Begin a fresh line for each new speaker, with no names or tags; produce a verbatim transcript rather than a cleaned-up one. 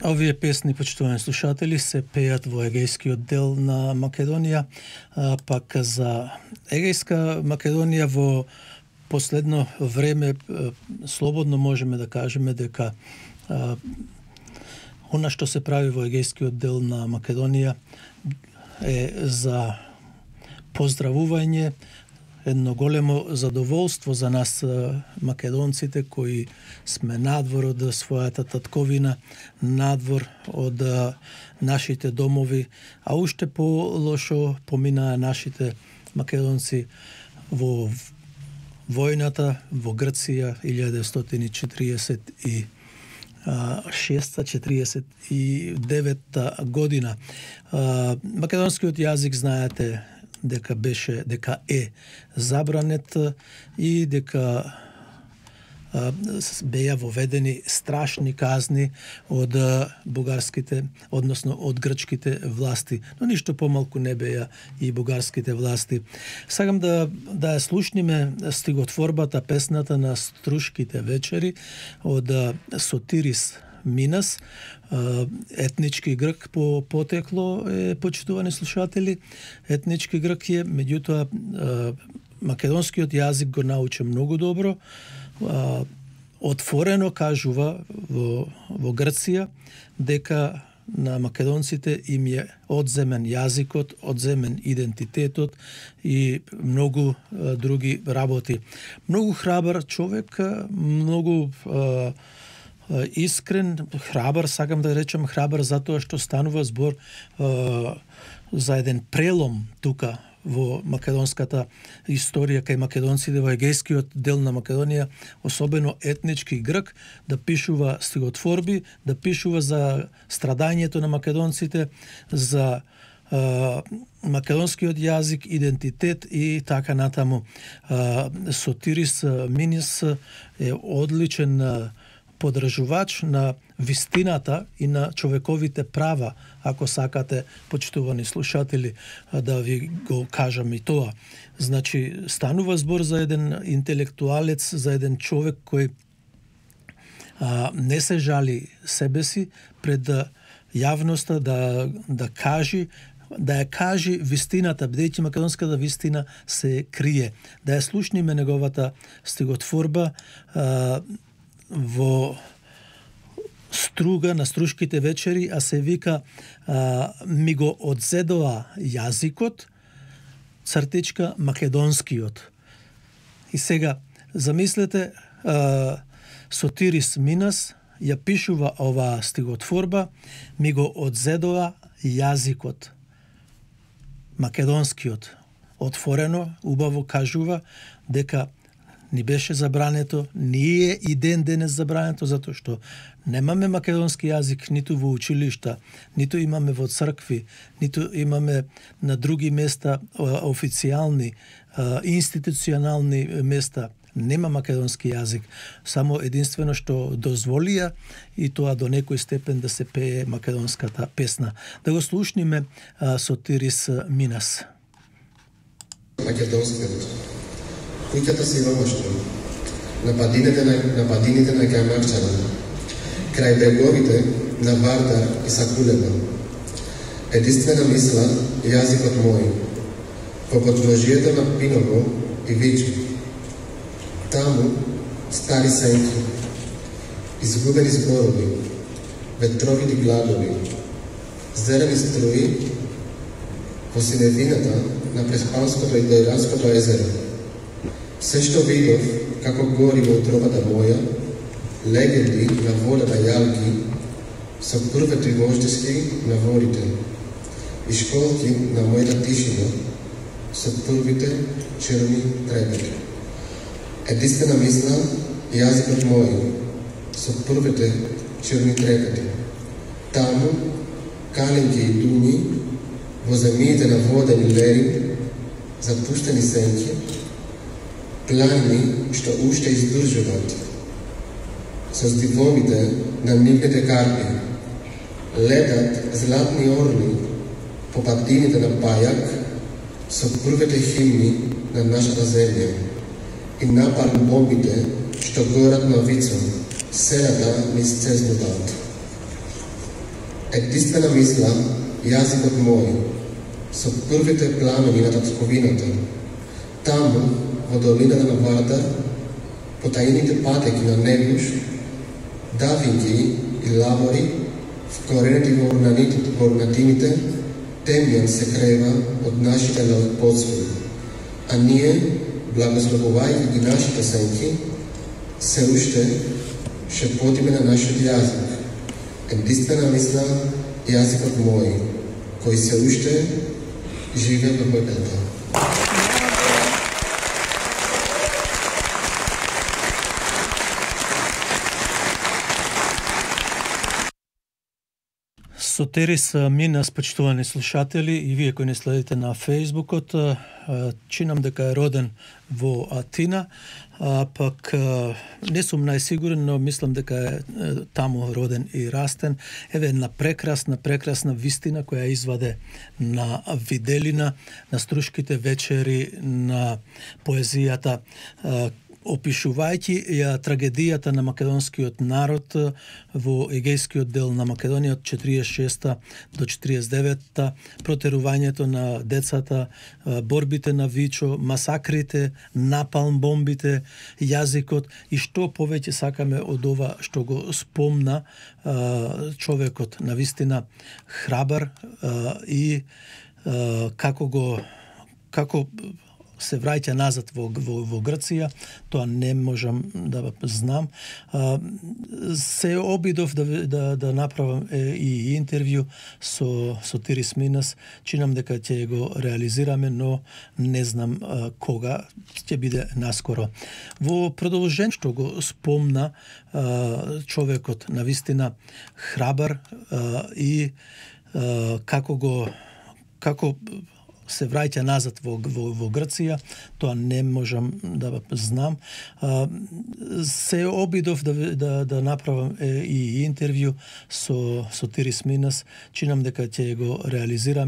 Овие песни, почитувани слушатели, се пеат во егејскиот дел на Македонија, а, пак за егејска Македонија во последно време а, слободно можеме да кажеме дека а, она што се прави во егејскиот дел на Македонија е за поздравување, едно големо задоволство за нас македонците кои сме надвор од својата татковина, надвор од нашите домови, а уште по-лошо поминаа нашите македонци во војната во Грција илјада деветстотини четиридесет и шеста четиридесет и девета година. Македонскиот јазик, знаете, дека беше, дека е забранет и дека а, беа воведени страшни казни од а, бугарските, односно од грчките власти, но ништо помалку не беа и бугарските власти. Сакам да да ја слушниме стиготворбата, песната на Струшките вечери од а, Сотирис Минас, етнички грк по потекло е, почитувани слушатели. Етнички грк е, меѓутоа македонскиот јазик го научи многу добро. Отворено кажува во, во Грција дека на македонците им е одземен јазикот, одземен идентитетот и многу а, други работи. Многу храбар човек, многу а, искрен, храбар, сакам да речем храбар затоа што станува збор е, за еден прелом тука во македонската историја кај македонците во егејскиот дел на Македонија, особено етнички грк, да пишува стиготворби, да пишува за страдањето на македонците, за е, македонскиот јазик, идентитет и така натаму. Е, Сотирис Минис е одличен подржувач на вистината и на човековите права, ако сакате, почитувани слушатели, да ви го кажам и тоа. Значи, станува збор за еден интелектуалец, за еден човек кој а, не се жали себе си пред јавноста да, да кажи, да ја кажи вистината, бидејќи македонската вистина се крие. Да ја слушниме неговата стиготворба а, во Струга на Струшките вечери, а се вика а, ми го одзедоа јазикот, цртичка македонскиот. И сега, замислете, а, Сотирис Минас ја пишува оваа стиготворба, ми го одзедоа јазикот, македонскиот. Отворено, убаво кажува дека ни беше забрането, ние и ден денес забрането, затоа што немаме македонски јазик ниту во училишта, ниту имаме во цркви, ниту имаме на други места официјални, институционални места. Нема македонски јазик, само единствено што дозволија и тоа до некој степен да се пее македонската песна. Да го слушниме Сотирис Минас.
Македонскиот. Куќата си во Моштро, на падините на, на, падините на Камарчана, крај бреговите на Вардар и Сакулева. Единствена мисла јазикот мој, во подложието на Пиново и Вичи. Таму стари сенки, изгубени зборови, ветровити гладови, зелени струи во синевината на Преспанското и Дејранското езеро. Се што видов како гори во утробата моја, легенди на вода на јалки, со првите вождески на ворите, и школки на мојата тишина, со првите черни трепети. Единствена мисла, јазикот мој, со првите черни трепети. Таму, каленки и дуни, во земјите на водени лери, запуштени сенки, планини што уште издржуват, со здивовите на нивните карпи, летат златни орли по падините на Пајак, со првите химни на нашата земја, и напални бомбите што горат на Вицо, селата низ цезнуваат. единствена мисла, јазикот мој, со првите пламени на татковината, таму, во долината на Вардар, по таините патеки на Негуш, давинги и лавори, вкорените во урнатините, во урнатините, темјан се крева од нашите подсвои, а ние, благословувајќи ги нашите сенки, се уште шепотиме на нашиот јазик. Единствена мисла, јазикот мој, кој се уште живе во мојата.
Сотерис Минас, почитувани слушатели, и вие кои не следите на Фејсбукот, чинам дека е роден во Атина, а пак не сум најсигурен, но мислам дека е таму роден и растен. Еве една прекрасна, прекрасна вистина која изваде на виделина, на струшките вечери, на поезијата, опишувајќи ја трагедијата на македонскиот народ во егејскиот дел на Македонија од четиридесет и шеста до четиридесет и девета, протерувањето на децата, борбите на Вичо, масакрите, напалм бомбите, јазикот и што повеќе сакаме од ова што го спомна човекот, навистина храбар и како го како се враќа назад во, во, во Грција, тоа не можам да знам. А, се обидов да, да, да направам е, и интервју со, со Тирис Минас, чинам дека ќе го реализираме, но не знам а, кога, ќе биде наскоро. Во продолжен што го спомна а, човекот, навистина храбар а, и а, како го како се враќа назад во, во, во Грција, тоа не можам да знам. А, се обидов да, да, да направам е, и интервју со, со Тирис Минас, чинам дека ќе го реализираме,